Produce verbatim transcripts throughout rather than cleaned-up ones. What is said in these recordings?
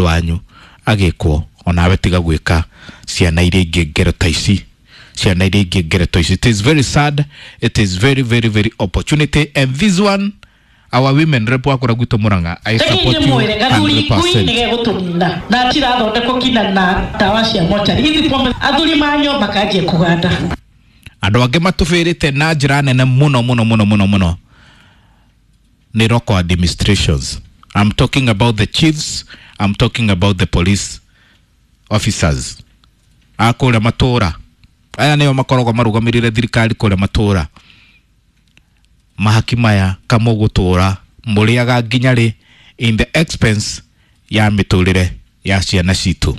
Wanyu agĩkwo onawe tiga gwĩka ciana iria ingĩ ngero ta ici, ciana iria ingĩ ngero ta ici. It is very sad, it is very very very opportunity, and this one, our women rep wakora gwitũ Murang'a, I support you mwire gathuri ngui one hundred percent. Nĩgegũtũnina na tirathondekwo kinya na ndawa cia mochari ithi pombe athuri manyo makanjia kũganda. Andũ angĩ matũbĩrĩte na njĩra nene mũno mũno mũno mũno mũno nĩ local administrations. I'm talking about the chiefs, I'm talking about the police officers a kũrĩa matũũra. Aya nĩo makoragwo marũgamĩrĩire thirikari kũrĩa matũũra. Mahaki maya kamũgũtũũra mũrĩaga nginya rĩ in the expense ya mĩtũrĩre ya ciana citũ?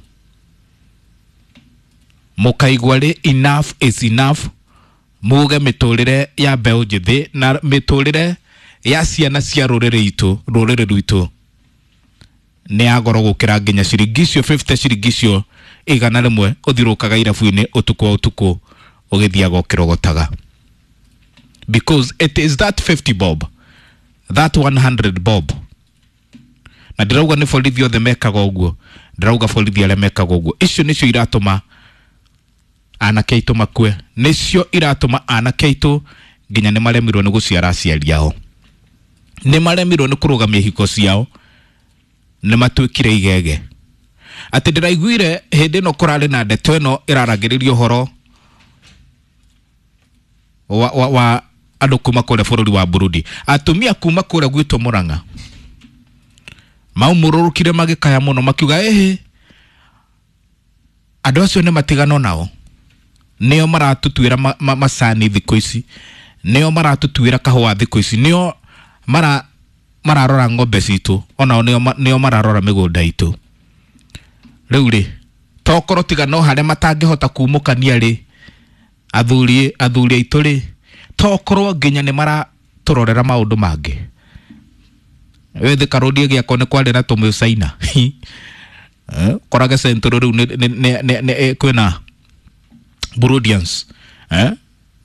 Mũkaigua rĩ enough is enough, muge mĩtũrĩre ya mbeũ njĩthĩ na mĩtũrĩre ya ciana cia rũrĩrĩ itũ rũrĩrĩ rwitũ nĩ ya goro gũkĩra nginya ciringi icio fifty, ciringi icio igana rĩmwe ũthirũkaga irabu-inĩ ũtukũ wa ũtukũ ũgĩthiaga ũkĩrogotaga, because it is that fifty bob, that one hundred bob. Na ndĩrauga nĩ borithi othe mekaga ũguo, ndĩrauga borithi arĩa mekaga ũguo. Icio nĩcio iratũma anake aitũ makue, nĩcio iratũma anake aitũ nginya nĩ maremirwo nĩ gũciara aciari ao, nĩ maremirwo nĩ kũrũgamia ihiko ciao, nĩ matuĩkire igege. Atĩ ndĩraiguire hĩndĩ ĩno kũrarĩ na ndeto ĩno ĩraragĩrĩria ũhoro wa, wa, wa andũ kuma kũrĩa bũrũri wa Burundi, atumia kuma kũrĩa gwitũ Murang'a maumũrũrũkire magĩkaya mũno makiuga ĩhĩ andũ acio nĩ matigano nao, nĩo maratũtuĩra ma, ma, macani thikũ ici, nĩo maratũtuĩra kahũa thikũ ici, nĩo mara mararora ng'ombe citũ, onao nĩo ma- nĩo mararora mĩgũnda itũ. Rĩu rĩ tokorwo tiga no harĩa matangĩhota kumũkania rĩ, athuri athuri aitũ rĩ, tokorwo nginya nĩ maratũrorera maũndũ mangĩ. Wĩthĩ karũndie gĩakwa nĩ kwarĩ na tũmũcaina. Eh, korage Central rĩu nĩ- nĩ- nĩ- nĩ- nĩ- eh, kwĩna Burundians, eh?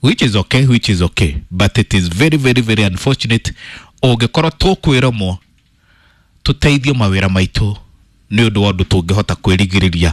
Which is okay, which is okay, but it is very very very unfortunate ũngĩkorwo tũkwĩromwo tũteithio mawĩra maitũ nĩ ũndũ wa ũndũ tũngĩhota kwĩrigĩrĩria,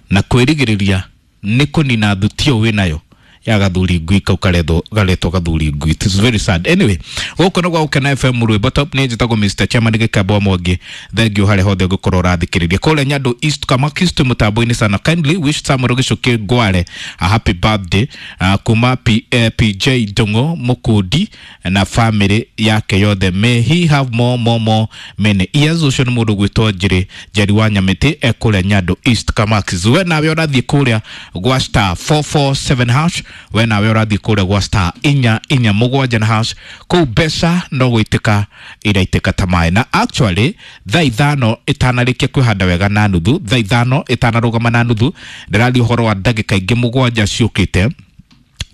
na kwĩrigĩrĩria nĩ kũnina thutio wĩnayo ya gathuri ngui kau karetwo garetwo gathuri ngui. It is very sad. Anyway, gũkũ nĩ gwa Gũkena F M, rwĩmbo top. Nĩ njĩtagwo Mister Chairman Gĩkamba wa Mwangi. Thank you harĩa hothe ũngĩkorwo ũrathikĩrĩria kũrĩa Nyandũ East Kamakis mũtambo-inĩ sana. Kindly wish Samuel Gĩcũkĩ Ngware a happy birthday uh, kuma P, eh, P J Ndung'u Mũkundi na family yake yothe. May he have more more more many years. Ũcio nĩ mũndũ gwĩtwo Njĩrĩ Njeri wa Nyamĩtĩ e kũrĩa Nyandũ East Kamakis. We nawe ũrathiĩ kũrĩa gwa star four four seven hash, we nawe ũrathiĩ kũrĩa gwa star inya inya mũgwanja na hash, kũu mbeca no gũitĩka iraitĩka ta maĩ. Na actually thaa ithano ĩtanarĩkia kwĩhanda wega na nuthu, thaa ithano ĩtanarũgama na nuthu, ndĩraria ũhoro wa ndagĩka ingĩ mũgwanja ciũkĩte,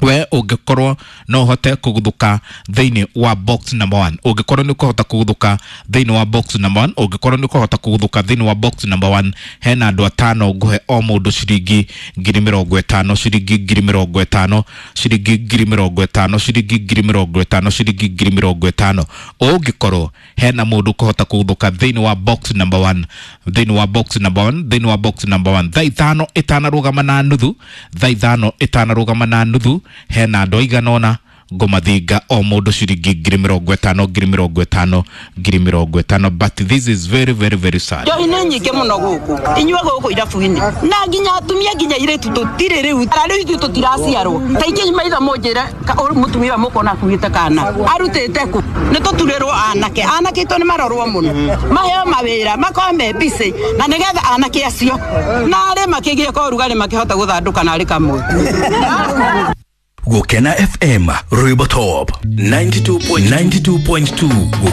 we ũngĩkorwo no ũhote kũguthũka thĩinĩ wa box number one, ũngĩkorwo nĩ ũkũhota kũguthũka thĩinĩ wa box number one, ũngĩkorwo nĩ ũkũhota kũguthũka thĩinĩ wa box number one, hena andũ atano ngũhe o mũndũ ciringi ngiri mĩrongo ĩtano, ciringi ngiri mĩrongo ĩtano, ciringi ngiri mĩrongo ĩtano, ciringi ngiri mĩrongo ĩtano, ciringi ngiri mĩrongo ĩtano. Ũngĩkorwo hena mũndũ ũkũhota kũguthũka thĩinĩ wa box number one, thĩinĩ wa box number one, thĩinĩ wa box number one, thaa ithano ĩtanarũgama na nuthu, thaa ithano ĩtanarũgama na nuthu, hena andũ aigana ũna ngũmathinga o mũndũ ciringi ngiri mĩrongo ĩtano, ngiri mĩrongo ĩtano, ngiri mĩrongo ĩtano. But this is very very very sad. Njohi nĩ nyingĩ mũno gũkũ inyuĩ gũkũ irabu-inĩ, na nginya atumia nginya irĩtu tũtirĩ rĩu ara rĩu ithuĩ tũtiraciarwo ta ingĩ maitho mũnjĩre ka- ũ- mũtumia ũyũ mũkona akuĩte kana arutĩte kũ. Nĩ tũturĩrwo anake, anake itũ nĩ marorwo mũno, maheo mawĩra makorwo me busy na nĩgetha anake acio narĩ makĩgĩe ka ũrugarĩ makĩhota gũthandũka narĩ kamwe. Gukena F M Rwimbo Top ninety-two point two.